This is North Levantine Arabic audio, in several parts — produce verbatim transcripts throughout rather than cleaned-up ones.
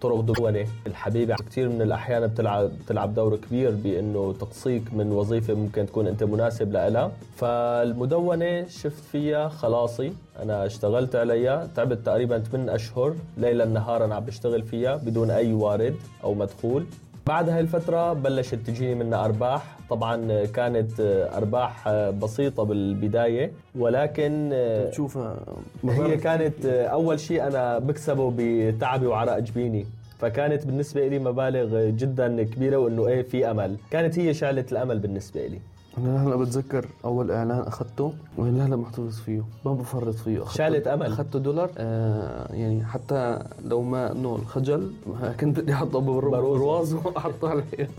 طرق دونة الحبيبة كتير من الأحيان بتلعب بتلعب دور كبير بأنه تقصيك من وظيفة ممكن تكون أنت مناسب لها. فالمدونة شفت فيها خلاصي، أنا اشتغلت عليها، تعبت تقريبا ثمانية أشهر ليلا نهارا عم بشتغل فيها بدون أي وارد أو مدخول. بعد هاي الفترة بلشت تجيني منها أرباح، طبعا كانت أرباح بسيطة بالبداية، ولكن تشوفها هي كانت أول شيء أنا بكسبه بتعبي وعرق جبيني، فكانت بالنسبة لي مبالغ جدا كبيرة، وإنه إيه في أمل، كانت هي شعلة الأمل بالنسبة لي. أنا هلأ بتذكر أول إعلان أخذته وأنا هلأ محتفظ فيه، ما بفرط فيه. شعلة أمل، أخذته دولار آه يعني حتى لو ما إنه الخجل كنت بدي أحطه بالرواز وأحطه عليه.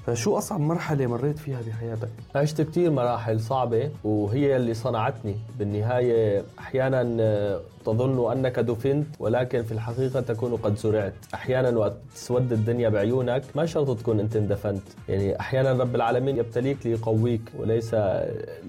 فشو أصعب مرحلة مريت فيها بحياتك؟ عشت كتير مراحل صعبة وهي اللي صنعتني بالنهاية. أحيانا تظن أنك دفنت ولكن في الحقيقة تكون قد زرعت. أحيانا وقت تسود الدنيا بعيونك ما شرط تكون أنت اندفنت، يعني أحيانا رب العالمين يبتليك ليقويك وليس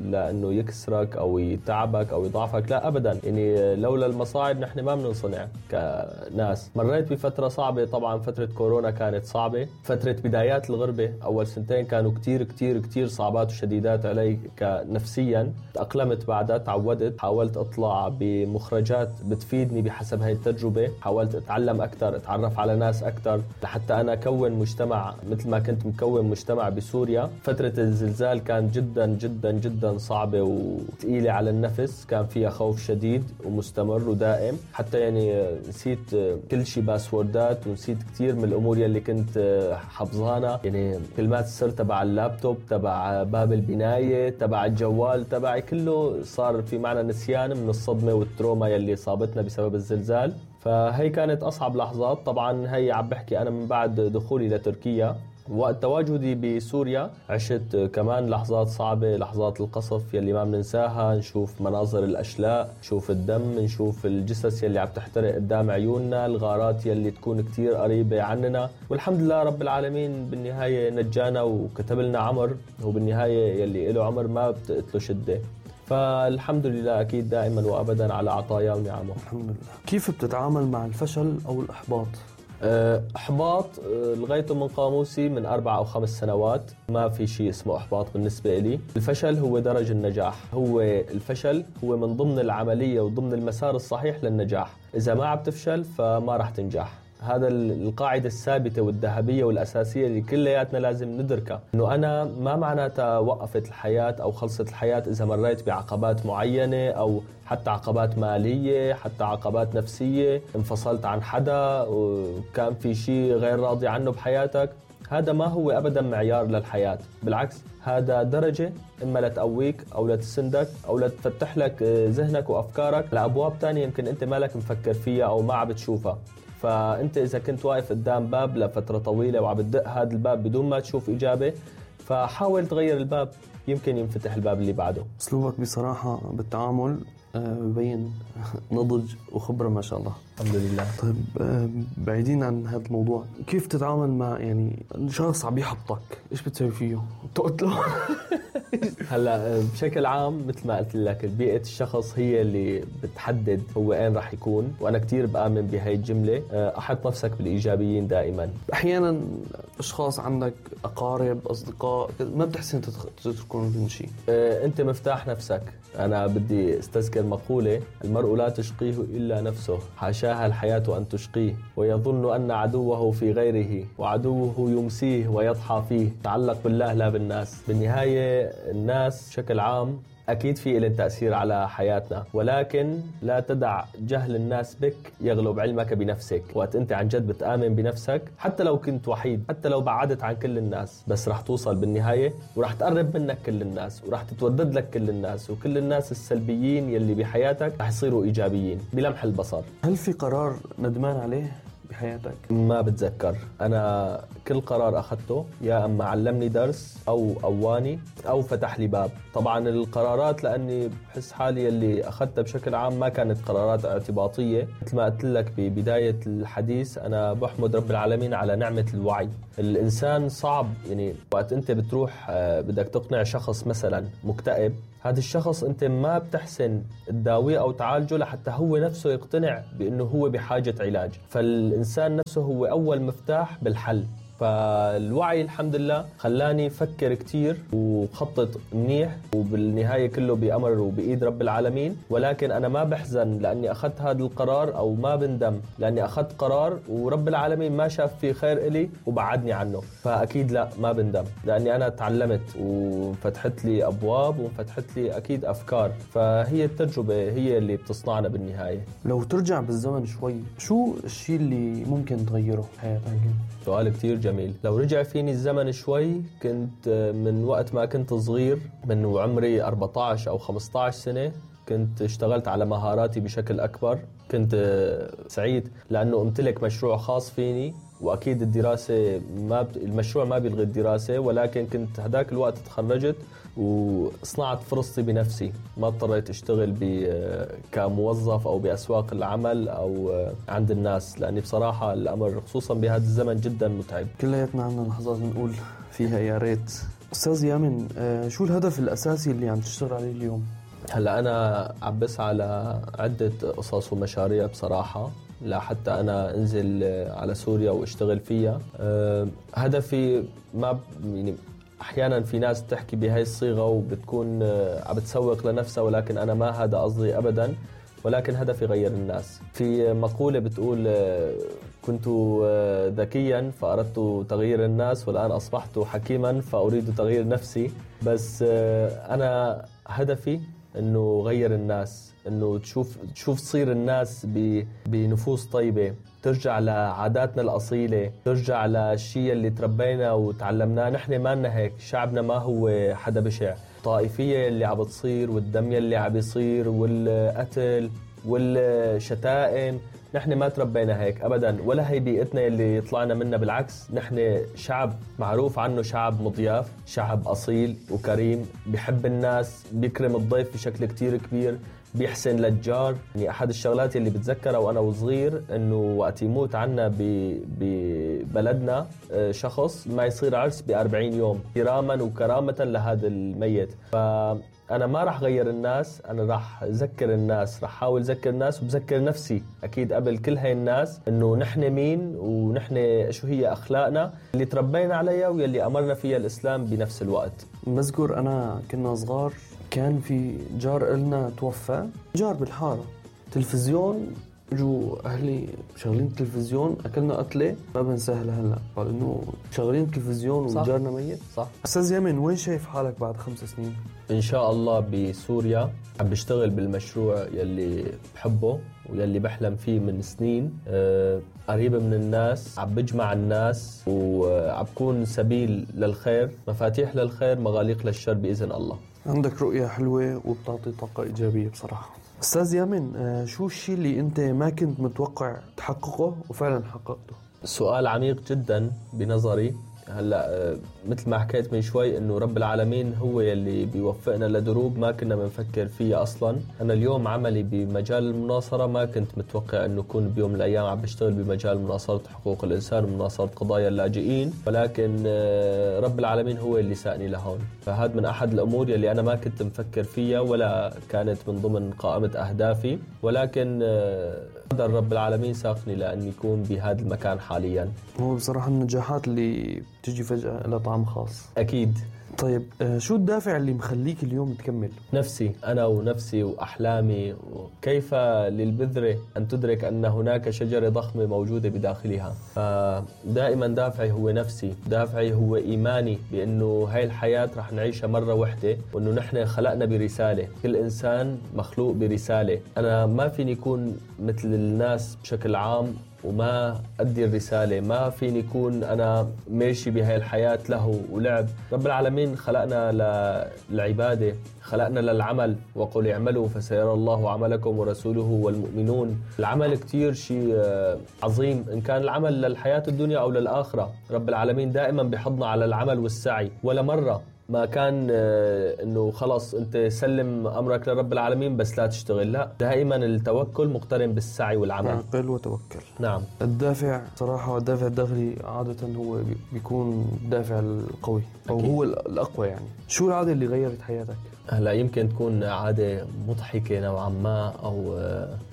لأنه يكسرك أو يتعبك أو يضعفك، لا أبدا. يعني لولا المصاعب نحن ما بننصنع كناس. مريت بفترة صعبة، طبعا فترة كورونا كانت صعبة، فترة بدايات الغربة أول سنتين كانوا كتير كتير كتير صعبات وشديدات علي كنفسيا. تأقلمت بعدها، تعودت، حاولت أطلع بمخرجات بتفيدني بحسب هاي التجربة، حاولت أتعلم أكتر، أتعرف على ناس أكتر لحتى أنا أكون مجتمع مثل ما كنت مكون مجتمع بسوريا. فترة الزلزال كانت جدا جدا جدا صعبة وثقيلة على النفس، كان فيها خوف شديد ومستمر ودائم، حتى يعني نسيت كل شيء باسوردات ونسيت كتير من الأمور يلي كنت حفظانا، يعني كلمات السر تبع اللابتوب، تبع باب البناية، تبع الجوال تبعي، كله صار في معنا نسيان من الصدمة والتروما يلي صابتنا بسبب الزلزال. فهي كانت أصعب لحظات. طبعا هي عم بحكي أنا من بعد دخولي لتركيا. وقت تواجدي بسوريا عشت كمان لحظات صعبة، لحظات القصف يلي ما بننساها، نشوف مناظر الأشلاء، نشوف الدم، نشوف الجثث يلي عم تحترق قدام عيوننا، الغارات يلي تكون كتير قريبة عننا، والحمد لله رب العالمين بالنهاية نجانا وكتب لنا عمر، وبالنهاية يلي له عمر ما بتقتله شدة. فالحمد لله أكيد دائما وأبدا على عطايا ونعمه. الحمد لله. كيف بتتعامل مع الفشل أو الإحباط؟ إحباط لغايته من قاموسي من أربع أو خمس سنوات، ما في شيء اسمه إحباط بالنسبة لي. الفشل هو درج النجاح، هو الفشل هو من ضمن العملية وضمن المسار الصحيح للنجاح. إذا ما عم تفشل فما رح تنجح. هذا القاعدة الثابتة والذهبية والأساسية اللي كلياتنا لازم ندركها، إنه أنا ما معناتها وقفت الحياة أو خلصت الحياة إذا مريت بعقبات معينة أو حتى عقبات مالية، حتى عقبات نفسية، انفصلت عن حدا وكان في شيء غير راضي عنه بحياتك. هذا ما هو أبدا معيار للحياة، بالعكس هذا درجة إما لتقويك أو لتسندك أو لتفتح لك ذهنك وأفكارك لأبواب تانية يمكن أنت مالك مفكر فيها أو ما عم بتشوفها. فأنت إذا كنت واقف قدام باب لفترة طويلة وعم بتدق هذا الباب بدون ما تشوف إجابة، فحاول تغير الباب، يمكن ينفتح الباب اللي بعده. أسلوبك بصراحة بالتعامل ببين نضج وخبرة ما شاء الله. الحمد لله. طيب بعيدين عن هذا الموضوع، كيف تتعامل مع يعني شخص عم يحبطك؟ إيش بتسوي فيه؟ تقتله؟ هلا بشكل عام مثل ما قلت لك بيئة الشخص هي اللي بتحدد هو وين راح يكون، وأنا كتير بآمن بهاي الجملة. أحط نفسك بالإيجابيين دائما. أحيانا أشخاص عندك أقارب أصدقاء ما بتحسن تتركون من شيء. أنت مفتاح نفسك. أنا بدي استذكر مقولة: المرء لا تشقيه إلا نفسه، حاشاها الحياة أن تشقيه، ويظن أن عدوه في غيره، وعدوه يمسيه ويضحى فيه. تعلق بالله لا بالناس. بالنهاية الناس بشكل عام أكيد في إلين تأثير على حياتنا، ولكن لا تدع جهل الناس بك يغلب علمك بنفسك. وقت أنت عن جد بتآمن بنفسك، حتى لو كنت وحيد، حتى لو بعدت عن كل الناس، بس رح توصل بالنهاية ورح تقرب منك كل الناس ورح تتودد لك كل الناس، وكل الناس السلبيين يلي بحياتك رح يصيروا إيجابيين بلمح البصر. هل في قرار ندمان عليه بحياتك؟ ما بتذكر. أنا كل قرار أخذته يا أما علمني درس أو قواني أو فتح لي باب. طبعا القرارات لأني بحس حالي اللي أخذتها بشكل عام ما كانت قرارات اعتباطية. مثل ما قلت لك ببداية الحديث، أنا بحمد رب العالمين على نعمة الوعي. الإنسان صعب، يعني وقت أنت بتروح بدك تقنع شخص مثلا مكتئب، هذا الشخص أنت ما بتحسن تداويه أو تعالجه لحتى هو نفسه يقتنع بأنه هو بحاجة علاج. فالإنسان نفسه هو أول مفتاح بالحل. فالوعي الحمد لله خلاني فكر كتير وخطط منيح، وبالنهاية كله بأمر وبإيد رب العالمين. ولكن أنا ما بحزن لأني أخذت هذا القرار، أو ما بندم لأني أخذت قرار ورب العالمين ما شاف فيه خير إلي وبعدني عنه. فأكيد لا، ما بندم، لأني أنا تعلمت وفتحت لي أبواب وفتحت لي أكيد أفكار. فهي التجربة هي اللي بتصنعنا بالنهاية. لو ترجع بالزمن شوي، شو الشيء اللي ممكن تغيره بحياتك؟ سؤال كتير جميل. لو رجع فيني الزمن شوي، كنت من وقت ما كنت صغير، من وعمري أربعة عشر أو خمسة عشر سنة، كنت اشتغلت على مهاراتي بشكل أكبر. كنت سعيد لأنه امتلك مشروع خاص فيني، وأكيد الدراسة ما ب... المشروع ما بيلغي الدراسة، ولكن كنت هداك الوقت تخرجت وصنعت فرصتي بنفسي. ما اضطريت اشتغل ب... كموظف أو بأسواق العمل أو عند الناس، لأني بصراحة الأمر خصوصا بهذا الزمن جدا متعب. كلياتنا عنا لحظات نقول فيها يا ريت. أستاذ يامن، شو الهدف الأساسي اللي عم تشتغل عليه اليوم؟ هلا أنا عم بسعى على عدة قصص ومشاريع بصراحة، لا حتى أنا أنزل على سوريا واشتغل فيها. أه هدفي ما يعني أحيانا في ناس تحكي بهاي الصيغة وبتكون عم بتسوق لنفسها، ولكن أنا ما هذا قصدي أبدا. ولكن هدفي غير الناس. في مقولة بتقول كنت ذكيا فأردت تغيير الناس، والآن أصبحت حكيما فأريد تغيير نفسي. بس أنا هدفي إنه غير الناس، إنه تشوف تشوف تصير الناس بنفوس طيبة، ترجع لعاداتنا الأصيلة، ترجع للشيء اللي تربينا وتعلمناه. نحن ما لنا هيك، شعبنا ما هو حدا بشع. الطائفية اللي عم بتصير والدمية اللي عم بيصير والقتل والشتائم، نحن ما تربينا هيك أبداً، ولا هي بيئتنا اللي طلعنا منها. بالعكس، نحن شعب معروف عنه شعب مضياف، شعب أصيل وكريم، بيحب الناس، بيكرم الضيف بشكل كتير كبير، بيحسن للجار. يعني أحد الشغلات اللي بتذكرها وأنا وصغير إنه وقت يموت عنا ببلدنا شخص ما يصير عرس بأربعين يوم كراما وكرامة لهذا الميت. فأنا ما راح غير الناس، أنا راح أذكر الناس، راح أحاول أذكر الناس وبذكر نفسي أكيد قبل كل هاي الناس إنه نحن مين ونحن شو هي أخلاقنا اللي تربينا عليها واللي أمرنا فيها الإسلام بنفس الوقت. بذكر أنا كنا صغار كان في جار إلنا توفى، جار بالحارة، تلفزيون، جو أهلي شغلين التلفزيون، أكلنا قتلة ما بنساها لهلا، قال إنه شغلين التلفزيون وجارنا ميت. صح. أستاذ يامن، وين شايف حالك بعد خمس سنين؟ إن شاء الله بسوريا، عم بشتغل بالمشروع يلي بحبه ويلي بحلم فيه من سنين، أه قريب من الناس، عم بجمع الناس وعم بكون سبيل للخير، مفاتيح للخير، مغاليق للشر بإذن الله. عندك رؤية حلوة وبتعطي طاقة إيجابية بصراحة. أستاذ يامن، شو الشيء اللي أنت ما كنت متوقع تحققه وفعلا حققته؟ سؤال عميق جدا بنظري. هلا مثل ما حكيت من شوي انه رب العالمين هو يلي بيوفقنا لدروب ما كنا بنفكر فيها اصلا. انا اليوم عملي بمجال المناصره ما كنت متوقع انه اكون بيوم من الايام عم بشتغل بمجال مناصره حقوق الانسان ومناصره قضايا اللاجئين، ولكن رب العالمين هو اللي ساقني لهون. فهذا من احد الامور يلي انا ما كنت مفكر فيها ولا كانت من ضمن قائمه اهدافي، ولكن قدر رب العالمين ساقني لاني اكون بهذا المكان حاليا. هو بصراحه النجاحات اللي تجي فجأة لها طعم خاص. أكيد. طيب شو الدافع اللي مخليك اليوم تكمل؟ نفسي، أنا ونفسي وأحلامي. وكيف للبذرة أن تدرك أن هناك شجرة ضخمة موجودة بداخلها. فدائما دافعي هو نفسي، دافعي هو إيماني بأنه هاي الحياة رح نعيشها مرة واحدة، وأنه نحن خلقنا برسالة، كل إنسان مخلوق برسالة. أنا ما فيني أكون مثل الناس بشكل عام وما أدي الرسالة، ما فيني يكون أنا ماشي بهاي الحياة له ولعب. رب العالمين خلقنا للعبادة، خلقنا للعمل، وقل اعملوا فسيرى الله عملكم ورسوله والمؤمنون. العمل كتير شيء عظيم، إن كان العمل للحياة الدنيا أو للآخرة. رب العالمين دائما بيحضنا على العمل والسعي، ولا مرة ما كان انه خلص انت سلم امرك لرب العالمين بس لا تشتغل. لا، دائما التوكل مقترن بالسعي والعمل. اعقل وتوكل. نعم. الدافع صراحه، الدافع الداخلي عاده هو بيكون الدافع القوي او أكيد. هو الاقوى. يعني شو العاده اللي غيرت حياتك؟ هلا يمكن تكون عادة مضحكة نوعا ما أو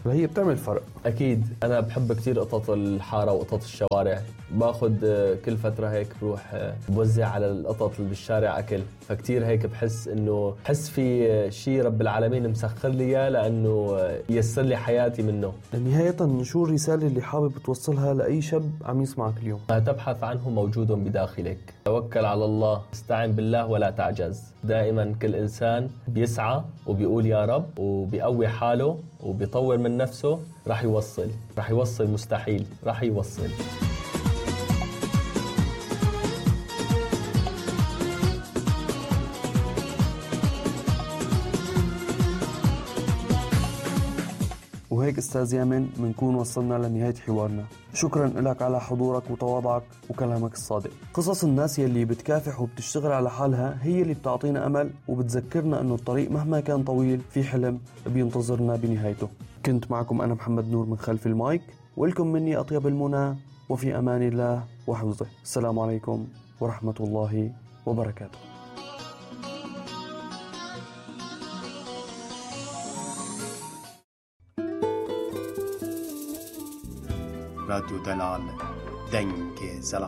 هي بتعمل فرق. أكيد أنا بحب كتير قطط الحارة وقطط الشوارع. باخد كل فترة هيك بروح بوزع على القطط اللي بالشارع أكل، فكتير هيك بحس إنه بحس في شيء رب العالمين مسخر لي إياه لأنه يسر لي حياتي منه. نهاية شو الرسالة اللي حابب توصلها لأي شاب عم يسمعك اليوم؟ ما تبحث عنه موجود بداخلك، توكل على الله، استعن بالله ولا تعجز. دائما كل إنسان بيسعى وبيقول يا رب وبيقوي حاله وبيطور من نفسه، راح يوصل راح يوصل مستحيل راح يوصل. وهيك أستاذ يامن منكون وصلنا لنهاية حوارنا. شكرا لك على حضورك وتواضعك وكلامك الصادق. قصص الناس يلي بتكافح وبتشتغل على حالها هي اللي بتعطينا أمل وبتذكرنا أنه الطريق مهما كان طويل في حلم بينتظرنا بنهايته. كنت معكم أنا محمد نور من خلف المايك، ولكم مني أطيب المنى، وفي أمان الله وحفظه. السلام عليكم ورحمة الله وبركاته. راديو دلال دنگ زلا.